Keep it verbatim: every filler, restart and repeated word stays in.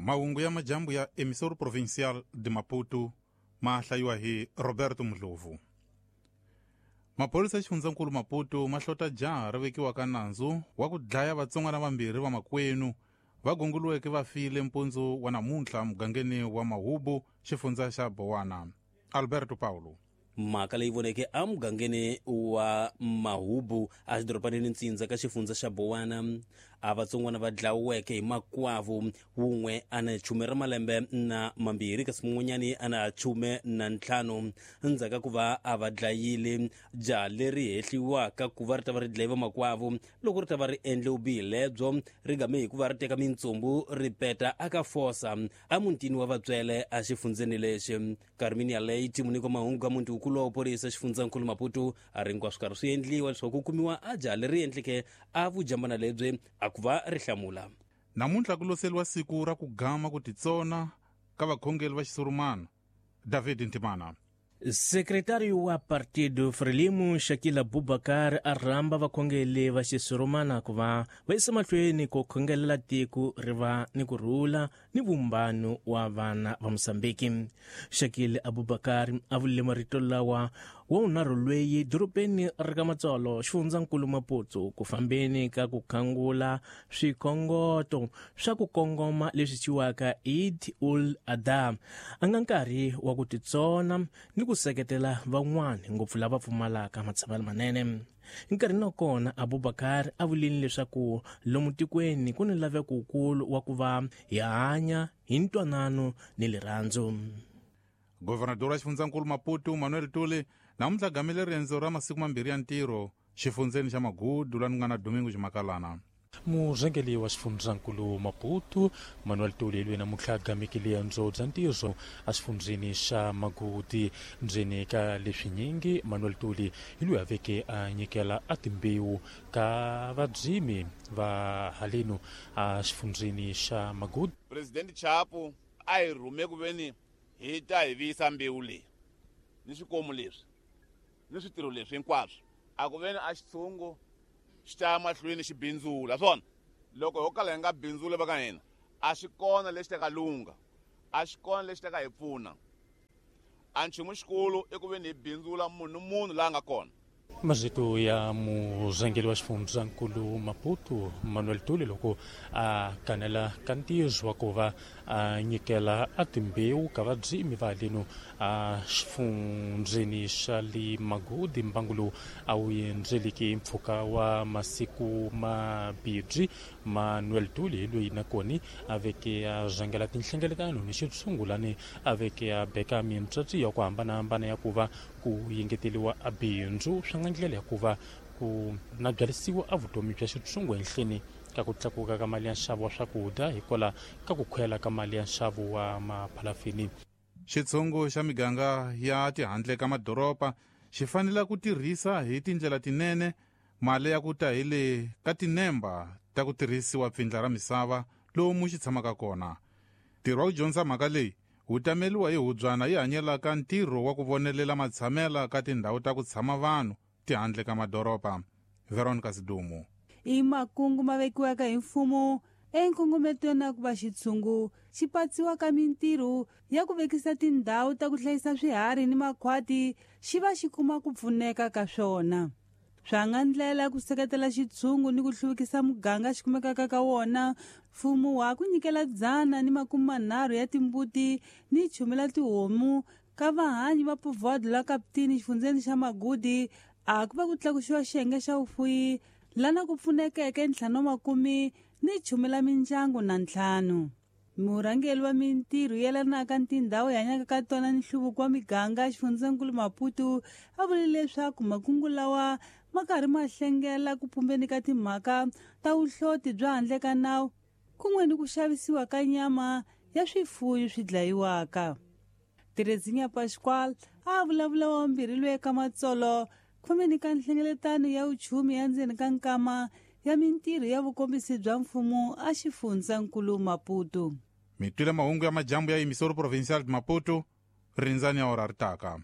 Mahungu ya majambu ya Emissora Provincial de Maputo ma hlayiwa hi Roberto Mdlovu. Maphorisa ya xifundzankulu Maputo ma hlota jaha ri vekiwaka nandzu wa ku dlaya vatsongwana vambirhi va makwenu va gongoliweke va file mpundzu wa namuntlha mugangeni wa Mahubu, xifundza xa Bowana. Alberto Paulo. Mhaka leyi voneke emugangeni wa Mahubu exidorobanini ntsindza ka xifundza xa Bowana, a vatsongwana va dlaweke hi makwavo, wun'we a na chume ra malembe na mambirhi kasi mun'wanyani a na chume na ntlhanu. Endzhaku ka ku va a va dlayile, jaha leri hehliwaka ku va ri ta va ri dlaye vamakwavo loko ri ta va ri endle vubihi lebyo ri game hi ku va ri teka mintsumbu ri peta aka fosa emutini wa vatswele exifundzeni lexi. Carminia Leite, muniko wa mahungu ka muti wukulu wa vuphorisa xifundzankulu Maputo, a ri hinkwaswo karhi swi endliwa leswaku ku kumiwa a jaha leri endleke a vujambana lebyi a ku va ri hlamula. Namuntlha ku loseliwa siku ra ku gama ku titsona ka vakhongeri va xisurumana. David Ntimana. Sekretário wa Partido Frelimo, Shakila Bubakar, a rhamba vakhongeri va xisurumana ku va va yisa mahlweni ku khongelela tiko ri va ni ku rhula ni vumbano wa vana va Mosambiki. Shakil Abubakar a vurile marito lawa wa vunharhu lweyi dorobeni ri ka Matsolo, xifundzankulu Maputo, ku fambeni ka ku khangula swikhongoto swa ku kongoma leswi thyiwaka Eid ul Adha, a nga nkarhi wa ku titsona ni ku seketela van'wana ngopfu lava pfumalaka matshamelo manene. Nkarhini wa kona Abubakar a vulile leswaku lomu tikweni ku ni laveko wukulu wa ku va hi hanya hi ntwanano ni rirhandzu. Governador wa xifundzankulu Maputo Manuel Tuli namuntlha gamile riendzo ra masiku mambirhi ya ntirho xifundzeni xa Magudu la nga na Domingo Ximakalana. Murhangeri wa xifundzankulu Maputo Manuel Tuli loyi namuntlha a gameke riendzo bya ntirho exifundzeni xa Magudi. Ndzeni ka leswinyingi, Manuel Tuli hi loyi a veke a nyikela a timbewu ka vadzimi va haleno exifundzeni xa Magudi. President Chapo a hi rhume ku veni hi ta hi viyisa mbewu leyi ni swikomu leswi ni switirho leswi hinkwaswo, a ku veni a xitshungu xi ta mahlweni xi bindzula swona. Loko ho kala hi nga bindzuli va ka hina, a xi kona lexi ta ka lungha, a xi kona lexi ta ka hi pfuna. A nchumu xikulu i ku veni hi bindzula munhu munhu laha nga kona. Marito ya murhangeri wa xifundzankulu Maputo Manuel Tuli loko a kanela ka ntirho wa ku va a nyikela a timbewu ka vadzimi va haleno a xifundzeni xa le Magudi. Mbangu lowu a wu endzeleki mpfhuka wa masiku mabirhi, Manuel Tuli hi loyi nakona a veke a rhangela tinhlengeletano ni xitshungulani, a veke a beka mintsatsi ya ku hambanahambana ya ku va ku yengeteliwa a bindzu swa nga ndlela ya ku va ku na byalisiwa a vutomi bya xitshungu ehenhleni ka ku tlakuka ka mali ya nxavo wa swakudya hikwalaho ka ku khwela ka mali ya nxavo wa maphalafini. Xitshungu xa miganga ya tihandle ka madoroba xi fanele ku tirhisa hi tindlela tinene mali ya ku ta hi le ka tinemba ta ku tirhisiwa pfindla ra misava lomu xi tshamaka kona. Ntirho wa ku dyondza mhaka leyi wu tameliwa hi hubyana yi hanyelaka ntirho wa ku vonelela matshamela ka tindhawu ta ku tshama vanhu tihandle ka madoroba. Veronica Sidumo. I makungu ma vekiwaka hi mfumo enkongometweni ya ku va xitshungu xi patsiwa ka mintirho ya ku vekisa tindhawu ta ku hlayisa swiharhi ni makhwati xi va xi kuma ku pfuneka ka swona. Swa nga ndlela ku seketela xitshungu ni ku hluvukisa muganga xi kumekaka ka wona, mfumo wa ku nyikela dzana ni makume manharhu ya timbuti ni chumela tihomu ka vahanyi va Povoado la Kaptini xifundzeni xa Magudi, a ku va ku tlakusiwa xiyenge xa vufuyi lana ku pfunekeke ntlhanu wa makume ni chumela mindyangu na ntlhanu. Murhangeri wa mintirho yelanaka ni tindhawu hi hanyaka ka tona ni nhluvuko wa miganga xifundzankulu Maputo a vule leswaku makungu lawa ma karhi ma hlengela ku pumbeni ka timhaka ta vuhloti bya handle ka nawu kun'we ni ku xavisiwa ka nyama ya swifuyo swi dlayiwaka. Terezinha Pascoal a vulavula wa vumbirhi loyi eka Matsolo khomeni ka nhlengeletano ya vuchumi ya ndzeni ka nkama ya mintirho ya vukombisi bya mfumo a xifundzankulu Maputo. Mi twile mahungu ya majambu ya Emissora Provincial de Maputo, rindzani ya ora ri taka.